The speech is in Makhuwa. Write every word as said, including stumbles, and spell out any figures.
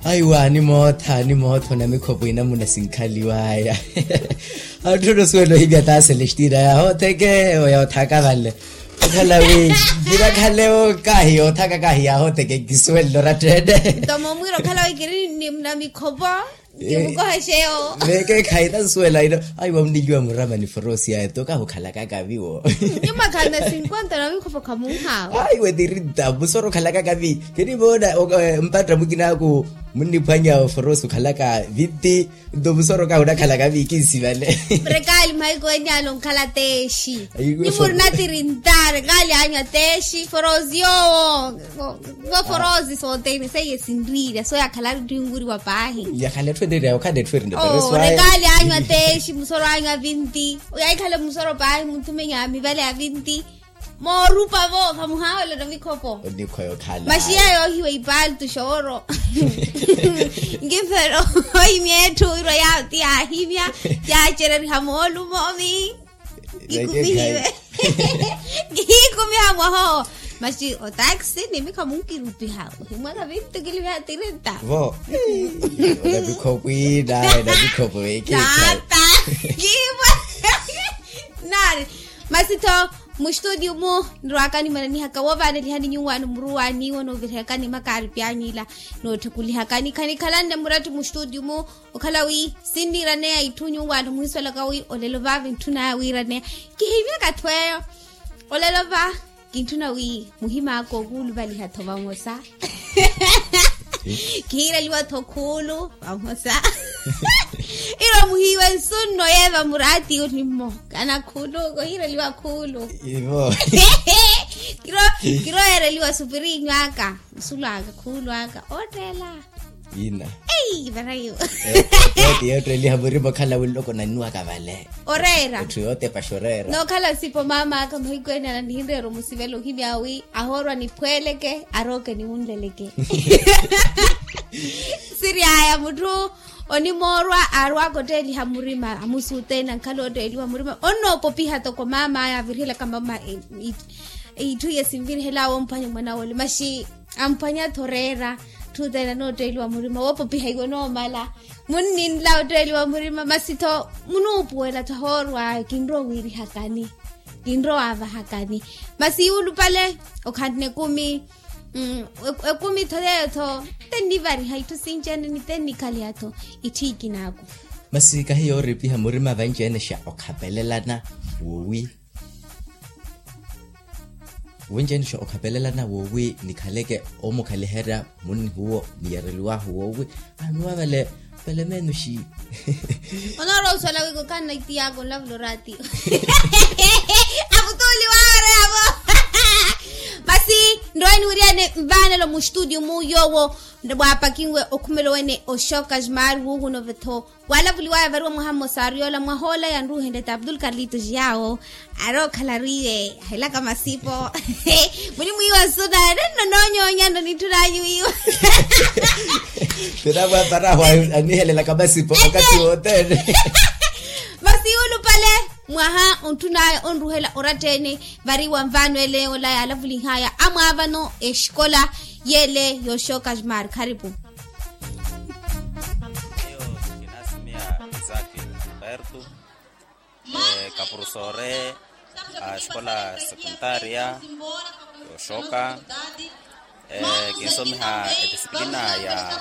Aiwa animootha animootha onamikhopo inamuna sinkhaliwaya. Atthu onosuwela ohimya taa selestina yahootheke oya othaaka vale. Okhala wi vira khale okahi yoothaaka kahi yahootheke nkisuwelele orattene. Nto momwiira okhala wi kiri ni namikhopo. Kimukoha xeyo. Vekeekhayi nasuwela ino. Aiwa muniliwa murama ni forosi yaye toka hukhalaka kaviwo. Nyuma khana sinkwenta namikhopo khamunhawo. Aiwa tirinta musoro khalaka kavi. Kinivoona mpatta mukinaku munniphwanya oforosi okhalaka vinti. Nto musoro kahu nakhalaka vikinsi vale. Rekaali mhaiko enialo nkhala teexi. Ni murina tirinta rekaali anywa teexi forosi yoowo. Voforosi sothene seiye sinriirya soyakhalaru ttinwiriwa paahi. Yakhala etthu enriirya okhala etthu erinda. Rekaali anywa teexi musoro anywa vinti. Oyahikhale musoro paahi munthu menya mivale ya vinti. Moorupa vo vamuhaawela namikhopo. Onikhwa yokhala. Maxiya yoohiwa ipaltu xooro. Nkimfelo ohimya etthu wirwa yawo ti yaahimya. Yaacereriha moolumomi. Kikumihiwe. Kihiikumiha mwaha owo. Maxi otaxi nimikha munkirupiha ohimwaka vintukiliviha tirenta. Vo. Onamikhopo inaye namikhopo vekeekhayi. Nata. Kiwa. Nari. Masi tho muxitudio-mu nirwaka nimananihaka woovaanelihani nyuwaano muruwaani woonovirihakani makaaripi anyu ila nootthukulihakani khanikhalanne murattu muxitudio-mu. Okhala wi sinniiraneya itthu nyuwaano muhisolaka wi olelo vaava intthunaya wiiraneya. Kihimyaka atthu eyo. Olelo va kintthuna wi muhim'aka okuuluvaliha-tho vamosa. Kihiireliwa-tho khuulu vamosa. Iro muhiiwe nsunno yeeva muraati onimmo kana khuulu kohiireliwa khuulu. Kiro yeereliwa supiriinyu aka nsulw'aka khuulu aka ootteela. Ina. Ei varayo. Yootteeliha murima okhala wi nloko nannuwaka vale. Oreera. Etthu yootepaxa oreera. Nookhala sipo maam'aka mahiku ene ananihinreera omusivela ohimya wi ahoorwa niphweleke arooke niwunleleke. Siri aya mutthu onimoorwa aarwaka otteeliha murima amusuuteena nkhala otteeliwa murima onnoopopiha toko maam'aya avirihela kamama. Itthu iye sinvirihel'awe omphwanya mwan'awe ole maxi amphwanya-tho oreera. Tthutteene anootteeliwa murima woopopiha iwe onoomala. Munninla otteeliwa murima masi-tho munuupuwela-tho ahoorw'aya kinrowa owiirihakani. Kinrowa ovahakani. Masi yuulupale okhanne ekumi. Ekumi-tho yeeyo-tho tennivariha itthu sinci-ene ni tennikhaliha-tho. Itthiikin'aku. Masi kahi yooripiha murima vanci-ene xa okhapelelana woowi. Wenci-ene xa okhapelelana woowi nikhaleke omukhaliherya munnihuwo niyereliwahu woowi. Anuwa vale vale menuxi. Onoorowa osuwela wi kukhanna itiyaka onlavula oraatiyo. Avutuuli waareya-vo. Masi nrowe niwiriyane nvaanelo muxitudio-mu yoowo waapakinwe okhumelo wene oxoka ximari wuuhuna ove-tho. Waalavuliwaya variwa mwaha mmosa aari yoola mwahoola yanruuhenle ti abdul karlitos yaawo. Aari okhala ariiwe ahelaka masipo. Munimwiiwa nsuna nenno noonyoonya nno nitthunanyu wiiwa. Tinaamwaaparahu anihelelaka masipo okathi wothene. Masi yuulupale mwaha ontthunaya onruhela oratta-ene. Variwa nvaano ele yoola yaalavulihaya amwaavano exikola yeele yooxoka ximari kharipu. Miyo kinasimia isaki. Berto. Kaprofesore a escola secundaria yooxoka. Kinsomiha edisiplina ya